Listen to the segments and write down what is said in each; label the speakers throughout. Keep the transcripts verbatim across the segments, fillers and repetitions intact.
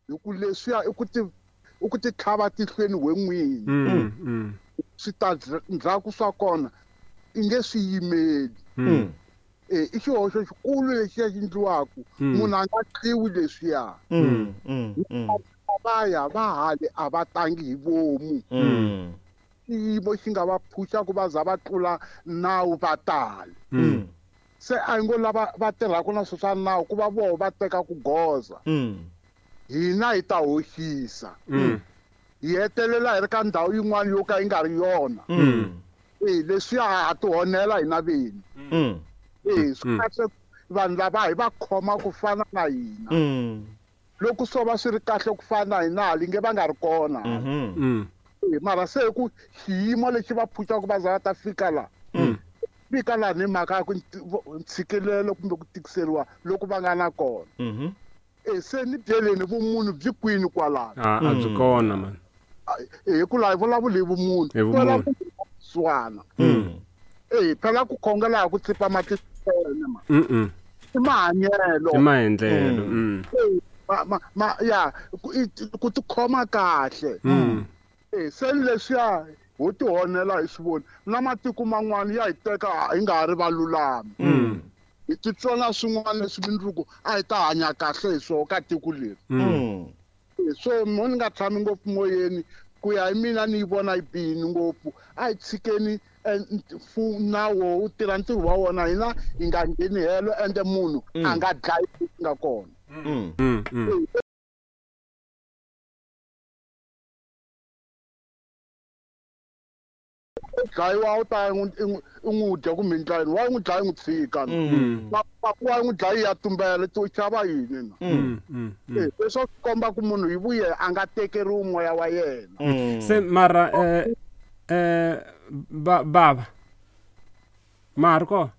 Speaker 1: Hi ku leswiya i ku ti i ku ti tlhava tihlweni we n'wini.
Speaker 2: Mm. Mm.
Speaker 1: Switandzhaku swa kona i nge swi yimeli.
Speaker 2: Mm.
Speaker 1: E i xihoxo xikulu lexiya xi endliwaku.
Speaker 2: Mm.
Speaker 1: Munhu a nga tliwi leswiya.
Speaker 3: Mm. Mm. Mm.
Speaker 1: Va ya va hale a va tangi hi vomu.
Speaker 3: Mm.
Speaker 1: Xiyimo xi nga va phusha ku va za va tlula nawu va tala.
Speaker 3: Mm.
Speaker 1: Se a hi ngo lava va tirhaka na swilo swa nawu ku va voho va teka ku goza.
Speaker 3: Mm.
Speaker 1: Hina hi ta hoxisa.
Speaker 2: Mm.
Speaker 1: Hi hetelela hi ri ka ndhawu yin'wana yo ka yi nga ri yona.
Speaker 3: Mm.
Speaker 1: E leswiya ha ti honela hina vini.
Speaker 3: Mm.
Speaker 1: E swi kahle vanhu lava hi va khoma ku fana na hina.
Speaker 3: Mm.
Speaker 1: Loko swo va swi ri kahle ku fana na hina hali nge va nga ri kona.
Speaker 3: Mhm.
Speaker 2: Mm.
Speaker 1: E mara se ku xiyimo lexi va phuxaka va za va ta fika la.
Speaker 3: Mm.
Speaker 1: Fika laha ni mhaka ya ku ntshikelelo kumbe ku tikiseriwa loko va nga na kona.
Speaker 3: Mhm.
Speaker 1: E se ni byeleni vumunhu byi kwini kwalano.
Speaker 2: A a byi kona man.
Speaker 1: E hi ku laha hi vulavula hi vumunhu.
Speaker 2: Hi vumunhu.
Speaker 1: Swana.
Speaker 3: Mm.
Speaker 1: E phela ku khongela ha ku tsipa matihlweni ma.
Speaker 2: Mm.
Speaker 1: I mahanyelo.
Speaker 2: I maendlelo. Mm.
Speaker 1: Ma ma ma ya ku ku tikhoma kahle.
Speaker 2: Mm.
Speaker 1: E se leswiya ho ti honela hi swi voni na matiko man'wana ya hi teka hi nga ha ri valulami.
Speaker 2: Mm.
Speaker 1: Hi titsona swin'wana leswi mindzuku a hi ta hanya kahle hi swona ka tiko leri.
Speaker 3: Mm.
Speaker 1: So mo ni nga tshami ngopfu moyeni ku ya hi mina ni yi vona yi bihini ngopfu. A hi tshikeni nawu wu tirha ntirho wa wona hina hi nga ngheni helo ende munhu a nga dlayi leswi nga kona.
Speaker 3: Mm.
Speaker 2: Mm. Mm.
Speaker 1: Dlayiwa u ta i n'wi dya kumbe ndlayini wa n'wi dlaya n'wi tshika.
Speaker 3: Mm.
Speaker 1: Wa n'wi dlaya ya tumbela to xava yini na.
Speaker 2: Mm. Mm.
Speaker 1: E leswo swi komba ku munhu hi vuye a nga tekeriwi moya wa yena.
Speaker 3: Mm.
Speaker 2: Se mara eh eh ba baba. Marco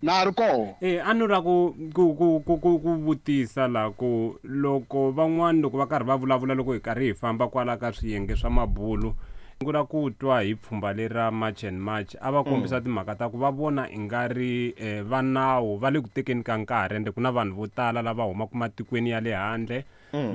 Speaker 1: Na ri koho.
Speaker 2: Eh a ni ra ku ku ku ku ku ku vutisa la ku loko van'wani loko va karhi va vulavula loko hi karhi hi famba kwala ka swiyenge swa mabulu ngula ku twa hi pfhumba leri ra March and March a va kombisa timhaka ta ku va vona i nga ri va nawu va le ku tekeni ka nkarhi ende ku na vanhu vo tala lava humaka matikweni ya le handle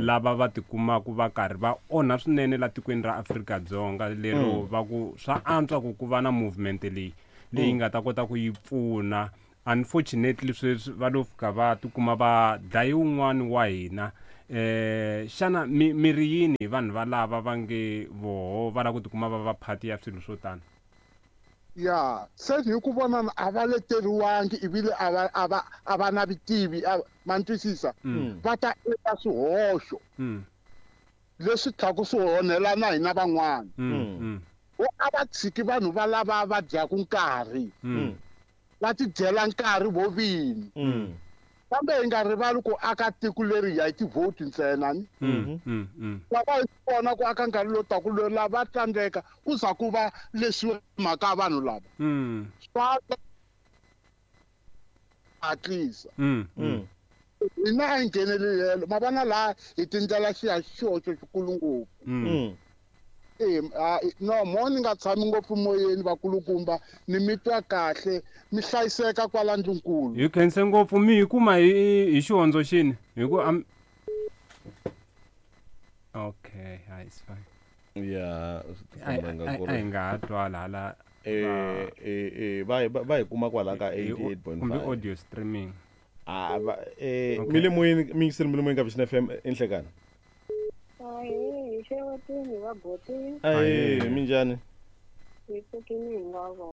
Speaker 2: lava va tikumaka va karhi va onha swinene la tikweni ra Afrika-Dzonga lero va ku swa antswa ku ku va na movement leyi leyi nga ta kota ku yi pfuna. Unfortunately sweswi va lo fika va tikuma va dlaye wun'wani wa hina. Eh xana mi mi ri yini hi vanhu valava va nge voho va lava ku tikuma va va phati ya swilo swo tani?
Speaker 1: Ya se hi ku vona a va leteriwangi ivile a va a va a va na vutivi ma twisisa va ta endla swihoxo leswi tlhaku swi honela na hina van'wana. Vo a va tshiki vanhu va lava va dyaku nkarhi va ti dyela nkarhi vo vini. Kambe hi nga rivali ku aka tiko leri hi ya hi tivhoti ntsena ni. Va va hi vona ku aka nkarhi lowu taka lowu lava tsandzeka ku za ku va leswi mhaka ya vanhu lava. Swa hatlisa. Hina a hi ngheneleli helo ma vona laha hi tindlela xiya xihoxo xikulu ngopfu. E no mo ni nga tshami ngopfu moyeni vakulukumba ni mi twa kahle mi hlayiseka kwala ndlunkulu.
Speaker 2: Hi khense ngopfu mi hi kuma hi hi xihondzo xini hi ku am okay hi it's fine.
Speaker 3: Ya
Speaker 2: a hi nga ha twala hala
Speaker 3: eh eh va va hi kuma kwala ka eighty-eight point five
Speaker 2: kumbe audio streaming.
Speaker 3: Ah va eh mi le moyeni mi yingiseli mi le moyeni ka Vision F M enhlekani.
Speaker 4: Ahee, hi xewetini va boti.
Speaker 3: Ahee, minjhani?
Speaker 4: Hi pfukini hinkwavo.